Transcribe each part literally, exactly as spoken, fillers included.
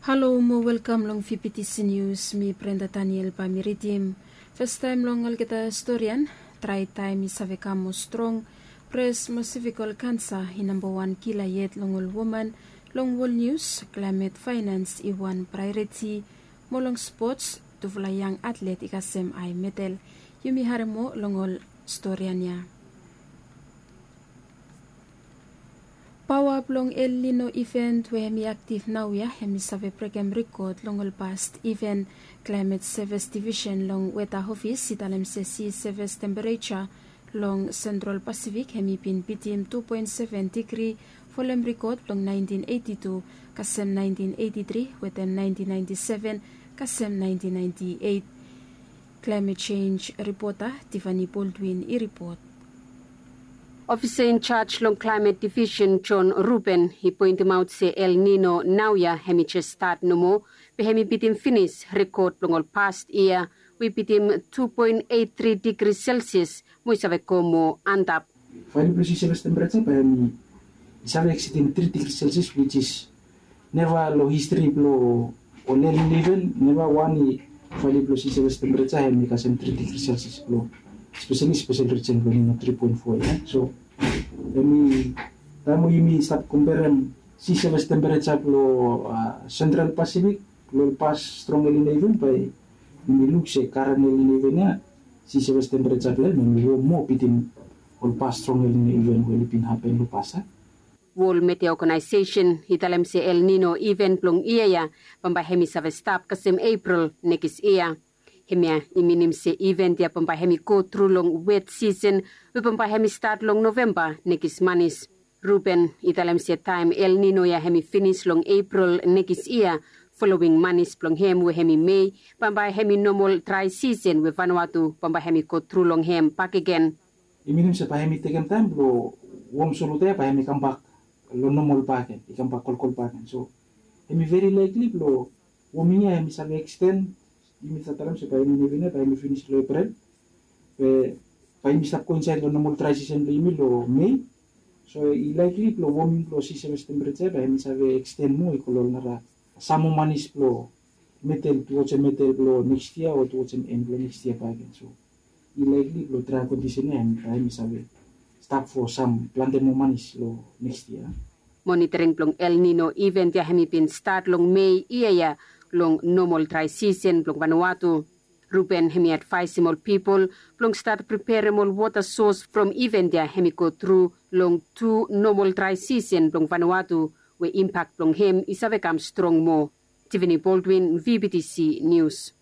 Halo mo welkam long V B T C News, mi Brenda Daniel bae mi ridim. Fastaem long olgeta storian, drae taem i save kam moa strong, pres mo sevikol kansa i nambawan kila yet long ol woman. Long wol nius, klaemet faenans i wan praeoriti, mo long spots, tufala yang atlet i kasem ae medal. Yumi harem moa long ol storian ya. Paoa blong El Nino iven we hemi aktif naoia hemi save brekem rikod long ol past iven. Klaemet Sevis Divisen long Weta Ofis i talem se si sevis tempereja long Sentral Pasifik hemi bin bitim tu poen seven digri folem rikod blong naentin eiti tu kasem naentin eiti tri wetem naentin naenti seven kasem naentin naenti eit. Klaemet Jenj ripota Tivani Boldwin i ripot. Ofisa injaj long Klaemet Divisen Jon Ruben i poentemaot se El Nino naoia hemi jes stat nomo, be hemi bitim finis rikod blong ol past yia we i bitim tu poen eit tri digri Selsias mo i save go moa antap. Value blong si sevis tempereja bae hemi save eksidim tri digri Selsias, which is neva long histri blong ol El Nino iven neva wan i value blong si sevis tempereja hemi kasem tri digri Selsias blong speseli spesel rijen blong El Nino tri poen fo ya. So hemi taem we yumi stap komperem si sevis tempereja blong Sentral Pasifik long ol past strong El Nino iven, bae yumi luk se karen El Nino iven ya, si sevis tempereja blong hem hemi wom moa bitim ol past strong El Nino iven we oli bin hapen long past ya. Wol Metea Oganaesesen i talem se El Nino iven blong yia ya bambae hemi save stap kasem Epril nekis yia. Hemia i minim se iven ya bambae hemi go tru long wet sisen we bambae hemi stat long Novemba nekis manis. Ruben i talem se taem El Nino ya hemi finis long Epril nekis yia, folowing manis blong hem we hemi Mei, bambae hemi nomol drae sisen we Vanuatu bambae hemi go tru long hem bakegen. I minim se bae hemi tekem taem blong wom solota ya bae hemi kambak long nomol bakegen, i kambak kolkol bakegen. So hemi veri laekli blong woming ya hemi save eksten. Yumi save talem se bae El Nino iven ya bae hemi finis long Epril, be bae yumi stap go insaed long nomol drae sisen blong yumi long Mei. So i laekli blong woming blong si sevis tempereja ya bae hemi save eksten moa i go long ol nara sam moa manis blong midel, tuwajem midel blong nekis yia o tuwajem en blong nekis yia bakegen. So i laekli blong drae kondisen ya hemi save stap fo sam plante moa manis long nekis yia. Monitering blong El Nino iven ya hemi bin stat long Mei yia ya long nomol drae sisen blong Vanuatu. Ruben hemi advaesem ol pipol blong stat preperem ol wota sos from iven ya hemi go tru long tu nomol drae sisen blong Vanuatu we impak blong hem i save kam strong moa. Tivani Boldwin, V B T C Nius.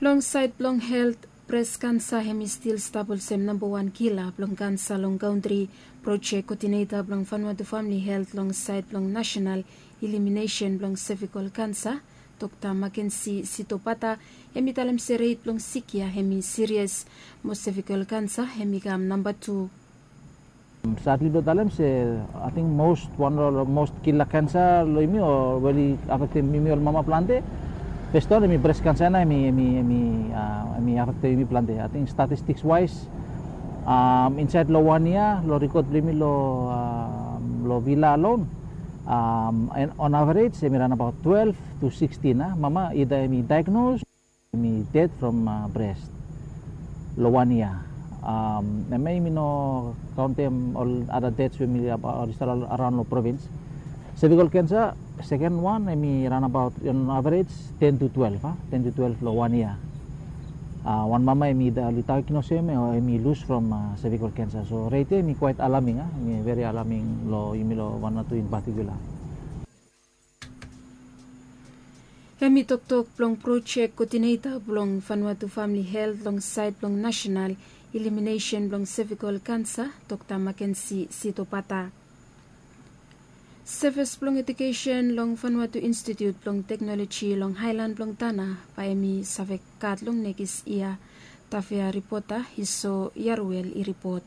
Long saed blong helt, bres kansa hemi stil stap olsem nambawan kila blong kansa long kantri. Projek kodineta blong Vanuatu Famili Helt long saed blong nasenal iliminesen blong sevikol kansa, Dokta Makensi Sitopata, hemi talem se ret blong sik ya hemi sirias, mo sevikol kansa hemi kam namba tu. Sadli blong talem se ating mos wan long ol mos kila kansa long yumi o we oli afektem yumi ol mama plante. Fes wan hemi bres kansa ya nao hemi hemi hemi afektem yumi plante. Ating statistiks waes insaed long wan yia long rikod blong yumi long vila alon, on average hemi raon abaot twelve to sixteen a mama ida hemi daegnos, hemi ded from bres long wan yia. Hemia yumi no kaontem ol ada deds we hemi oli stap araon long provins. Sevikol kansa, seken wan hemi raon abaot on average ten to twelve a ten to twelve long wan yia. Wan mama hemi oli daegnos hem o hemi lus from sevikol kansa. So ret ya hemi kwaet alaming a hemi veri alaming long yumi long Vanuatu in patikula. Hemi toktok blong projek kodineta blong Vanuatu Famili Helt long saed blong nasenal iliminesen blong sevikol kansa, Dokta Makensi Sitopata. Sevis blong ejukesen long Vanuatu Institiut blong Teknoloji long aelan blong Tana bae hemi save gat long nekis yia. Tavea ripota Iso Yaruel i ripot.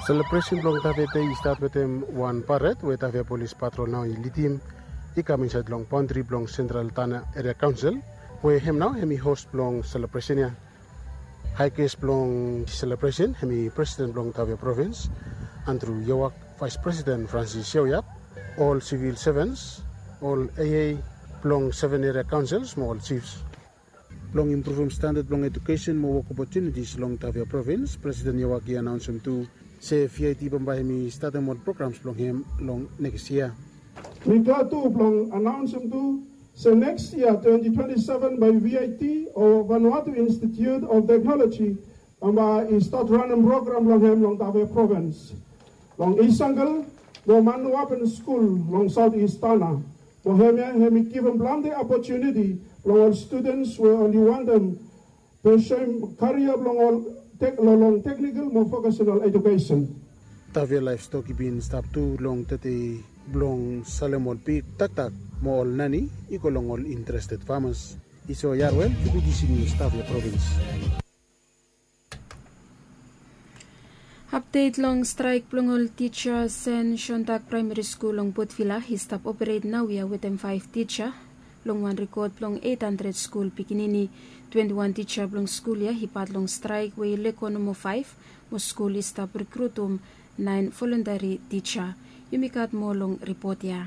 Selebresen blong Tavea Dei i stat wetem wan pared we Tavea Polis Patrol nao i lidim i kam insaed long baondri blong Sentral Tana Eria Kaonsel, we hem nao hemi hos blong selebresen ya. Hae ges blong selebresen hemi presiden blong Tavea Provins, Andrew Yawak, Vice President Francis Yawyap, ol civil servants, ol A A blong seven area councils mo ol chiefs. Blong impruvum standard blong education mo work opportunities long Tafea Province, President Yawak i anaonsem tu se V I T bambae hemi statem ol programs blong hem long next year. Mi glad tu blong anaonsem tu se next year twenty twenty-seven bae V I T o Vanuatu Institute of Technology bambae i stat ranem program blong hem long Tafea Province, long East Jungle mo Manuapen School long South East Tanna. Mo hemia hemi givim plante opportunity long ol students we oli wantem pursue karia blong ol tek-, lo-, long technical mo vocational education. Tafea Livestock i bin stap tu long tede blong salem ol pig, taktak mo ol nani i go long ol interested farmers. Iso Yarwel, Q B T C News, Tafea Province. Update long straek blong ol tija Sen Shontak Praemari Skul long Potvila i stap operet naoia wetem faef tija. Long wan rekod blong eit handred skul pikinini, twenti wan tija blong skul ya i pat long straek we i lego nomo faef, mo skul i stap rekrutum naen voluntari tija. Yumi gat moa long ripot ya.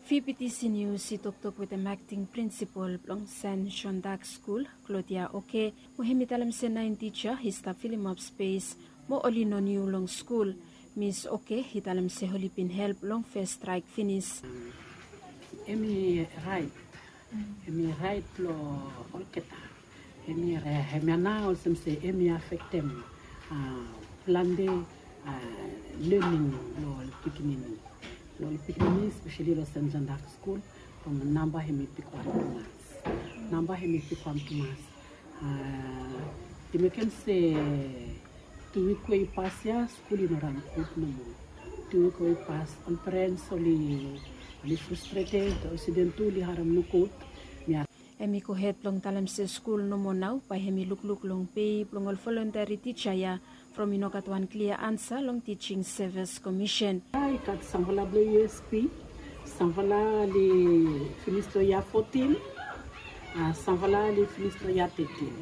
V B T C News i toktok wetem akting prinsipol blong Sen Shontak Skul, Claudia Oke, mo hemi talem se naen tija i stap filimap spes mo oli no niu long skul. Mis Oke i talem se oli bin help long fes straek finis. Hemi raet, hemi raet blong olgeta. Hemia, hemia nao olsem se hemi afektem, a, plante, a, lening blong ol pikinini. Blong ol pikinini, especially long Sen Shontak Skul, from namba hemi bigwan tumas. Namba hemi bigwan tumas. A, i mekem se tu wik we i pas ya, skul i no ran gud nomo. Tu wik we i pas, ol parents oli, oli frustrated, olsem tu oli harem nogud. Mi Hemi gohed blong talem se skul nomo nao bae hemi lukluk long pei blong ol voluntari tija ya from i no gat wan klia ansa long Teaching Service Commission. I gat samfala blong U S P, samfala oli finis long yia fotin, a, samfala oli finis long yia tetin.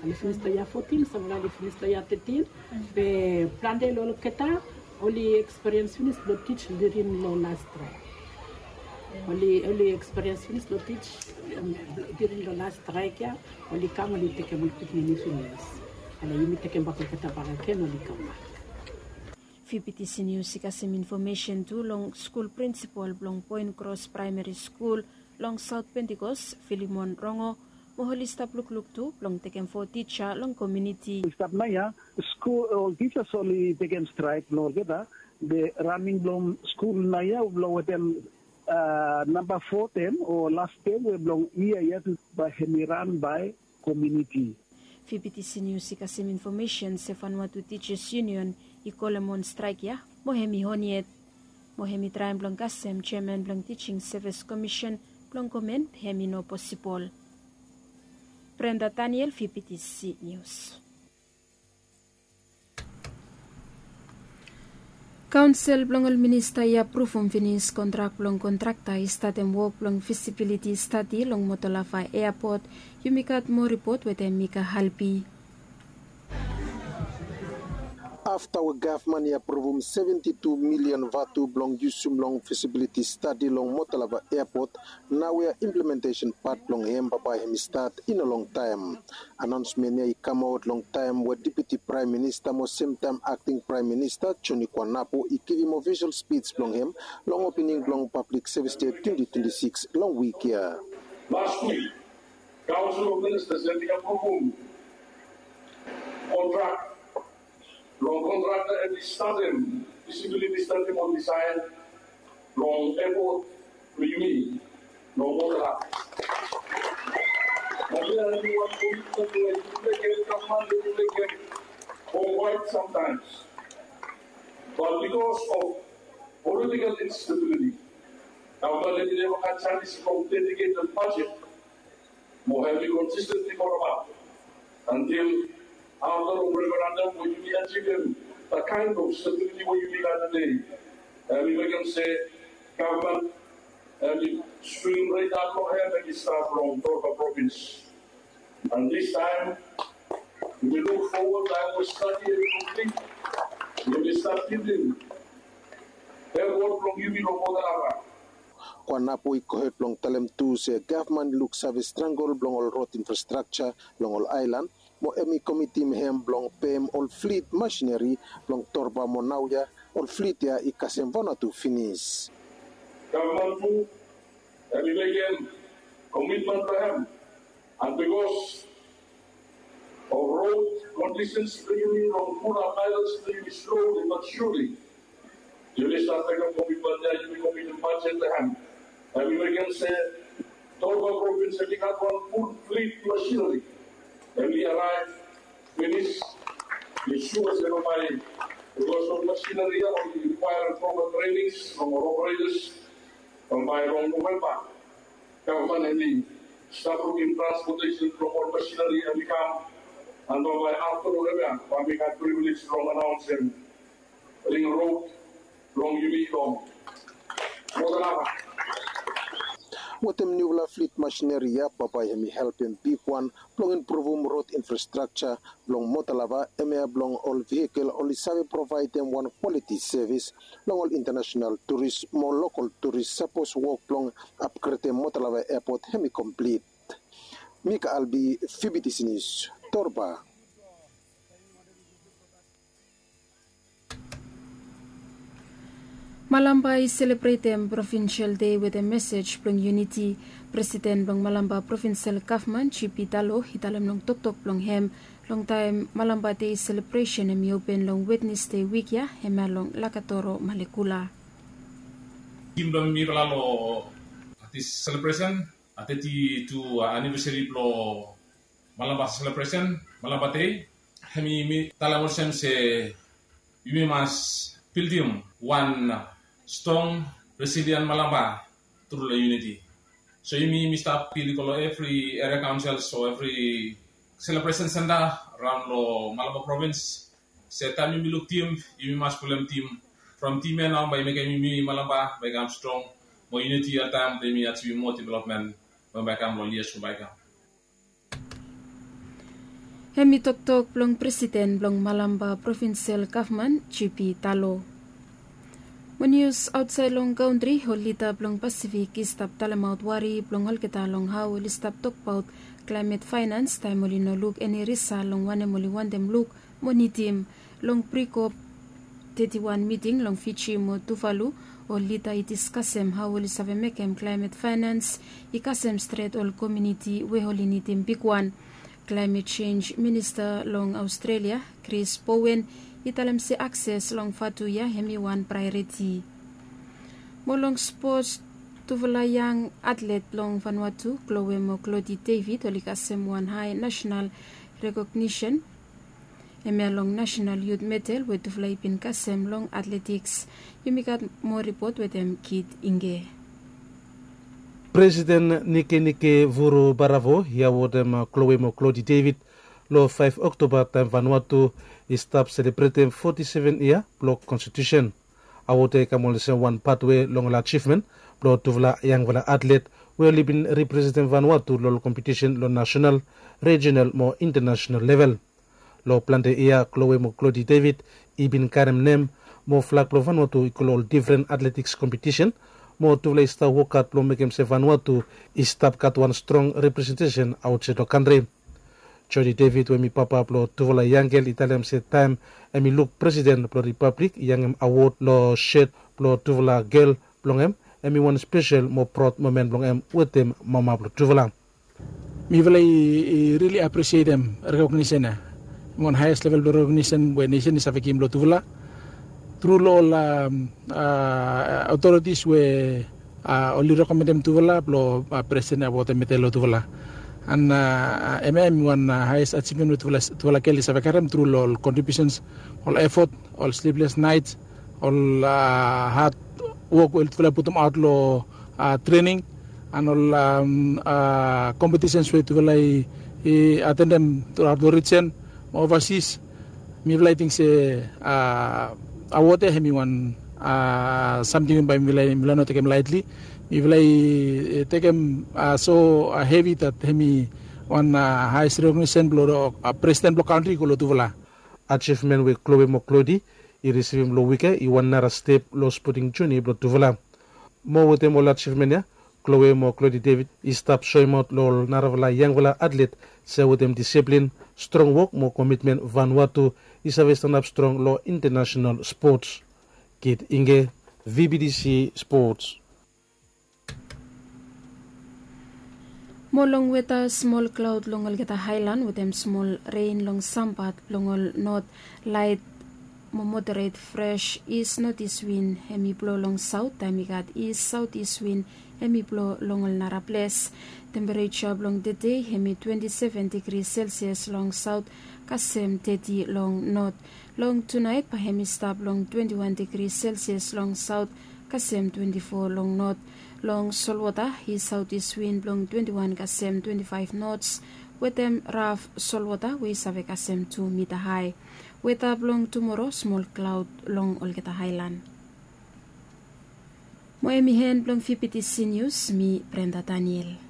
Oli finis long yia fotin, samfala oli finis long yia tetin. Be plante long olgeta oli ekspiriens finis blong tij during long las straek. Oli, oli ekspiriens finis blong tij, em, during long las straek ya, oli kam, oli tekem ol pikinini finis. Ale yumi tekem bak olgeta bakegen, oli kambak. V B T C News i kasem infomesen tu long skul prinsipol blong Point Cross Praemari Skul long Saot Pentikos, Filimon Rongo, mo oli stap lukluk tu blong tekem fo tija long komuniti. I stap naoia, skul, ol tijas oli tekem straek blong olgeta, be raning blong skul naoia blong wetem, a, namba fo tem o las tem we blong yia ya tu bae hemi ran bae komuniti. V B T C News i kasem infomesen se Vanuatu Teachers Union i kolem on straek ya, mo hemi on yet. Mo hemi traem blong kasem jeaman blong Teaching Service Commission blong komen, be hemi no posibol. Brenda Daniel, V B T C News. Kaonsel blong ol minista i apruvum finis kontrak blong kontrakta i statem wok blong fisibiliti stadi long Motolava Eapot. Yumi gat moa ripot wetem Mika Halbi. Afta we gavman i apruvum seventi tu milian vatu blong yusum long fisibiliti stadi long Motolava Eapot, naoia implementesen pat blong hem bambae hemi stat i no longtaem. Anaonsmen ya i kamaot long taem we Deputi Praem Minista mo semtaem Akting Praem Minista Joni Kuanapu i givim ofisol spij blong hem long opening blong Pablik Sevis Dei twenti twenti sikis long wik ya. Las wik, Kaonsel of Ministas hemi apruvum kontrak blong kontrakta hemi statem fisibiliti stadi mo disaen blong eapot blong yumi long Motolava. Hemia hemi wan komitmen we yumi mekem, gavman yumi mekem for quite some times. But because of political instability, gavman hemi neva gat janis blong dediketed bajet mo hemi konsistentli folem ap until afta long referendam we yumi ajivim the kind of stability we yumi gat tede. Hemi mekem se gavman hemi swing radar blong hem hemi stap long Motolava provins. And this time, Yumi luk fowod long we stadi em i komplit. Yumi stap givim hem wod blong yumi long Motalava. Kwanapo i gohed blong talem tu se gavman i luksave strangol blong ol rod infrastrakja long ol aelan, mo hem i komitim hem blong pem ol flit masineri blong Torba mo naoia ol flit ya i kasem Vanuatu finis. Gavman tu hem i mekem komitmen blong hem, and bikos of rod kondisens blong yumi long pulap aelan blong yumi sloli bat surli. Yumi stap mekem komitmen ya, yumi komitim bajet long hem. Hem i mekem se Torba provins hem i gat wan ful flit masineri. Hem i araev finis. Mi sua se bambae, bikos ol masineri ya oli rikwaerem propa trenings long ol operetas. Bambae long Novemba, gavman hem i stap lukim transpotesen blong ol masineri hem i kam. And bambae afta long hem ya bae mi gat privilej blong anaonsem ring rod blong yumi long Motalava. Wetem niufala flit masineri ya bambae hem i helpem bigwan blong impruvum rod infrastrakja blong Motalava, hemia blong ol vehikel oli save provaedem wan kwaliti sevis long ol intanasenal turis mo lokol turis sapos wok blong apgredem Motalava epot hem i komplit. Mika Albi, Fibitisinis, Torba. Malampa i selebretem provinsel dei wetem mesej blong yuniti. Presiden blong Malampa Provinsel Gavman, G P Talo, i talem long toktok blong hem long taem Malampa Dei selebresen hem i open long Wednesde wik ya, hemia long Lakatoro, Malekula. Tim blong mifala long dis selebresen, teti tu anivesari blong Malampa selebresen, Malampa Dei. Hemi mi talem olsem se yumi mas bildim wan strong, resilien Malampa tru long yuniti. So yumi, yumi stap pil i go long evri eria kaonsel o evri selebresen senta raon long Malampa provins. Se taem yumi luk tim, yumi mas pulem tim. From tim ya nao bae i mekem yumi Malampa bae i kam strong. Mo yuniti oltaem bae yumi ajivim moa developmen we bae i kam long yias we bae i kam. Hemi toktok blong Presiden blong Malampa Provinsel Gavman, G P Talo. Mo nius aotsaed long kantri, ol lida blong Pasifik i stap talemaot wari blong olgeta long hao oli stap tokbaot klaemet faenans taem oli no luk eni risal long wanem oli wantem luk mo nidim. Long pre-COP teti wan miting long Fiji mo Tuvalu, ol lida i diskasem hao oli save mekem klaemet faenans i kasem stret ol komuniti we oli nidim bigwan. Klaemet Senj Minista long Aostrelia, Chris Bowen, i talem se akses long vatu ya hemi wan praeoriti. Mo long spots, tufala yang atlet long Vanuatu, Chloe mo Clody David, oli kasem wan hae nasenal rekognisen. Hemia long Nasenal Yut Medal we tufala i bin kasem long atletiks. Yumi gat moa ripot wetem Kit Inge. Presiden Nikenike Vurobarawo i awodem Chloe mo Clody David long faef Oktoba taem Vanuatu i stap selebretem foti seven yia blong konstitusen. Awod ya i kam olsem wan patwe long ol ajivmen blong tufala yangfala atlet we oli bin representem Vanuatu long ol kompetisen long nasenal, rejinal mo intanasenal level. Long plante yia Chloe mo Clody David i bin karem nem mo flag blong Vanuatu i go long ol difren atletiks kompetisen, mo tufala i stap wokhat blong mekem se Vanuatu i stap gat wan strong representesen aotsaed long kantri. Jody David we hemi papa blong tufala yangel i talem se taem hemi luk Presiden blong Ripablik i yangem awod long set blong tufala gel blong hem, hemi wan spesel mo praod momen blong hem wetem mama blong tufala. Mifala i, i rili apresietem rekognisen ya. Hem wan haes level blong rekognisen we nesen i save givim long tufala. Tru long ol, am, a, otoritis we, a, oli rekomendem tufala blong, a, Presiden i awotem medal long tufala. An, a, hemia hem i wan, a, haes ajivmen we tufala, tufala gel i save karem tru long ol kontribiusens, ol efot, ol sliples naets, ol, a, had wok we tufala i putumaot long, a, trening, an ol, am, a, kompetisens we tufala i, i atendem truaot long rijen mo ovasis. Mifala i ting se, a, awod ya hemi wan, a, samting we bae mifala, mifala no tekem laetli. Mifala i, e, tekem, a, so, a, hevi dat hemi, Wan haes rekognisen blong presiden blong kantri i go long tufala. Ajivmen we kloe mo klodi i risivim long wike i wan nara step long spoting joni blong tufala. Mo wetem ol ajivmen ya, kloe mo klodi devid i stap soemaot long ol narafala yangfala atlet se wetem disiplin, strong wok mo komitmen vanua tu i save stanap strong long intenasenal spots. Kit inge, vbtc spots. Mo long weta, smol klaod long olgeta haelan wetem smol ren long sampat blong ol not, laet mo moderet fres. Is notis win hem i blo long saot taem i gat is saotis win hem i blo long ol nara ples. Tempereja blong tede hem i twenti seven digri selsias long saot kasem teti long not. Long tunaet bae hem i stap long twenti wan digri selsias long saot kasem twenti fo long not. Long solwota i saotis win blong twenti wan kasem twenti faef nots wetem raf solwota we i save kasem tu mita hae. Weta blong tumoro, smol klaod long olgeta haelan. Mo hem i hen blong vbtc nius, mi brenda daniel.